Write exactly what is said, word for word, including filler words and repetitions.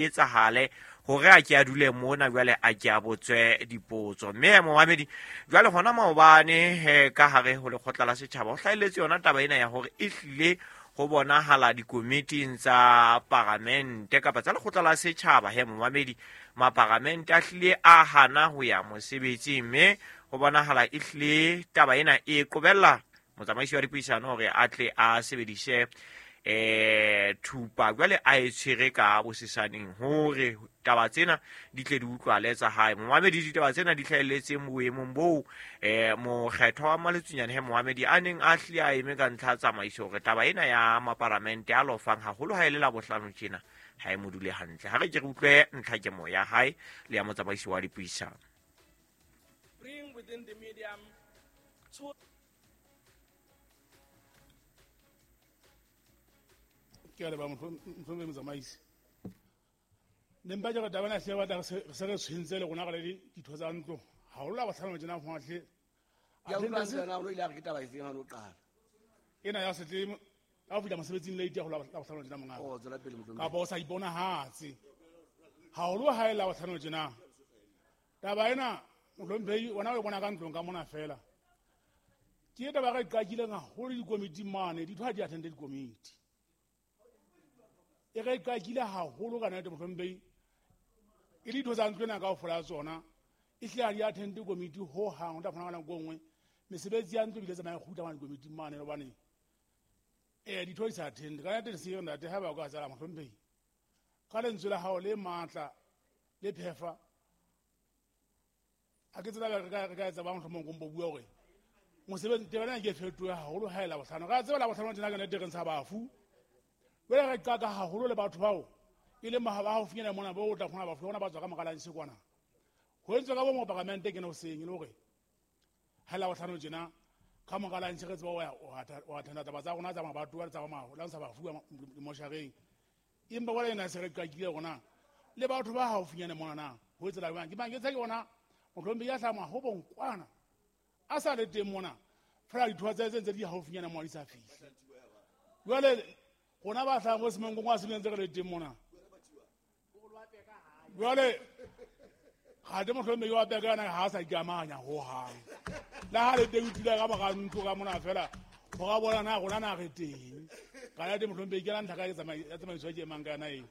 Etsahale hore a ke a dule mona jwale a ke a botswe dipotso. Mme momamedi, jwale hona maobane he ka hare ho lekgotla la setjhaba ho hlahelletse yona taba ena ya hore e hlile ho bonahala dikomiting tsa paramente kapa tsa lekgotla la setjhaba he momamedi, maparamente a hlile a hana ho ya mosebetsing, mme ho bonahala e hlile taba ena e qobella motsamaisi wa dipuisano hore a tle a sebedise eh thupa jwale a e tshwere ka bosesaneng hore taba tsena di tle di utlwale tsa hae. Momamedi, ditaba tsena di hlahelletseng boemong boo eh mokgethwa wa Maletsunyane he momamedi a neng a hlile a eme ka ntlha tsamaiso hore taba ena ya maparamente a lofang haholo ha e le la bohlano tjena ha e mo dule hantle. Ha re ke re utlwe ntlha kemo ya hae le ya motsamaisi wa dipuisano. Bring within the medium two ke a leboha mohlomphei motsamaisi. Ne mpa ke re taba ena hle batla se re tshwentse le rona re le ditho tsa ntlo. Haholo la bohlano tjena ho hle. Ya utlwa ntsena o ile a re ke taba efeng ha o qala. Ena ya setle ha o fihla mosebetsing late ya ho la bohlano tjena mongaka. Oh, tswela pele mohlomphei. Kapa o sa iponahatse. Haholo ha e la bohlano tjena. Taba ena mohlomphei wena o e bona ka ntlong ka mona fela. Ke taba re qakileng haholo dikomiti mane, ditho ha di attend dikomiti. E re qakile haholo ka nnete mohlomphei. E le ditho tsa ntlo ena kaofela ya tsona e hlile ha di attend komiti ho hang, o tla fumana ka nako e nngwe mesebetsi ya ntlo ebile tsamaya e kgutla mane dikomiting mane hobane eh ditho di sa attend. Ka nnete se ntate ha ba ka tsala mohlomphei ka lentswe la hao le matla le phefa a ke tsela re ka re ka etsa ba mohlomong go mpo bua hore mosebetsi taba ena ke fetohe haholo ha e la bohlano. Ka tseba la bohlano tjena ka nnete re ntsha bafu. Jwale re qaka haholo le batho bao e leng ba haufinyana mona bo o tla kgona bafu bona ba tswa ka mora lunch kwana. Ho entswe ka bo moparamente ke no seng e le hore ha la bohlano tjena ka mora lunch re tseba o attenda taba tsa rona tsa mabatowa le tsa la ntsha bafu moshareng. Empa jwale ena se re qakile rona le batho ba haufinyana mona na ho etsela jwang? Ke mang ke tse ke bona mohlomphei ya hlama ho bonkwana a sa le teng mona fela ditho tsa tse ntse di haufinyana mona di sa fihle. Jwale rona ba hlahang mo Semangkong wa se ntse re le teng mona. Jwale ha te mohlomphei wa peka yena ha a sa ikamanya ho hang. Le ha le teng o dula ka mora ntlo ka mona fela ho ra bona na rona na re teng. Ka ya te mohlomphei ke la ntlha ka ya tsamaiso ya ke emang ka yona eo.